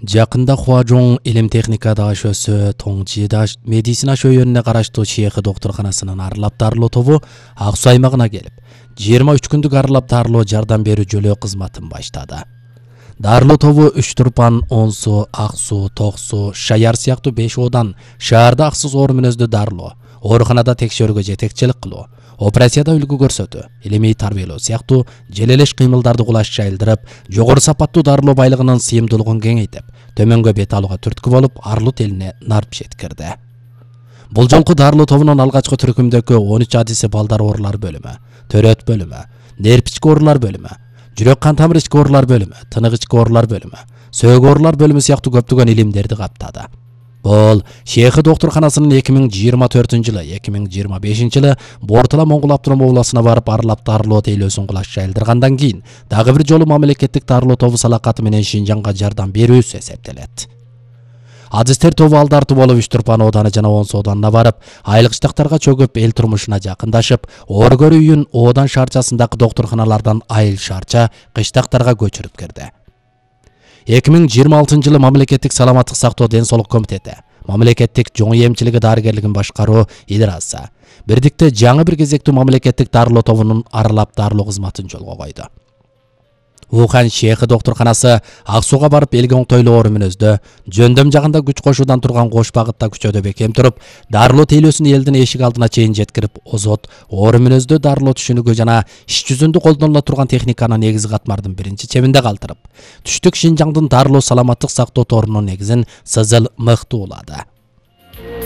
Жакында Хуажоң илим техника дашөсү Тоңжида медицина шөйөнүнө караштуу Шейхи докторканасынын арылап дарылоо тобу Ак Суу аймагына келип, 23 күндүк арылап дарылоо жардам берүү жөлөө кызматын баштады. Дарылоо тобу Үч-Турпан, Он Суу, Ак Суу, Ток Суу, Шаяр сыяктуу 5 оодан шаарда аксыз оор мүнөздүү дарылоо, ооруканада текшерүүгө жетекчилик кылуу, операцияда үлгү көрсөтүү, илимий тарбиялоо сыяктуу желелеш кыймылдарды кулаш жайылдырып, жогору сапаттуу дарылоо байлыгынын сыйымдуулугун кеңейтип, төмөнгө бет алууга түрткү болуп, Арлут элине нарп жеткирди. Бул жолку дарылоо тобунун алгачкы түркүмдөгү 13 адиси балдар оорулар бөлүмү, төрөт бөлүмү, нерв ички оорулар бөлүмү, жүрөк кан тамыр ички оорулар бөлүмү, тынык ички оорулар бөлүмү, сөөгү оорулар бөлүмү сыяктуу көптөгөн илимдерди каптады. Бул Шейхи докторканасынын 2024-жылы, 2025-жылы Бортала Моңгол автоном областына барып арылап дарылоо тейлөөсүн кулаш жайылдыргандан кийин дагы бир жолу мамлекеттик дарылоо тобу салакаты менен Шинжаңга жардам берүүсү эсептелет. Адистер тобу алдартуу болуп Үч-Турпан ооданы жана Он Суу ооданына барып, айыл кыштактарга чөгүп, эл турмушуна жакындашып, оор көрүү үйүн оодан шаарчасындагы докторканалардан айыл шаарча кыштактарга көчүрүп кирди. 2026-жылы мамлекеттик саламаттык сактоо ден соолук комитети, мамлекеттик жоң эмчилиги дарыгерлигин башкаруу идарасы бирдикте жаңы бир кезектүү мамлекеттик дарылоо тобунун арылап дарылоо кызматын жолго койду. Ухан Шейхи докторканасы Ак Сууга барып элге оңтойлуу оор мүнөздө, жөндөм жагында күч кошуудан турган кош багытта күчөдө бекем туруп, дарылоо тейлөөсүн элдин эшик алдына чейин жеткирип, озот, оор мүнөздө дарылоо түшүнүгү жана иш жүзүндө колдонула турган техниканы негизи катмардын биринчи чебинде калтырып, түштүк Шинжаңдын дарылоо саламаттык сактоо торунун негизин сызыл мыкты улады.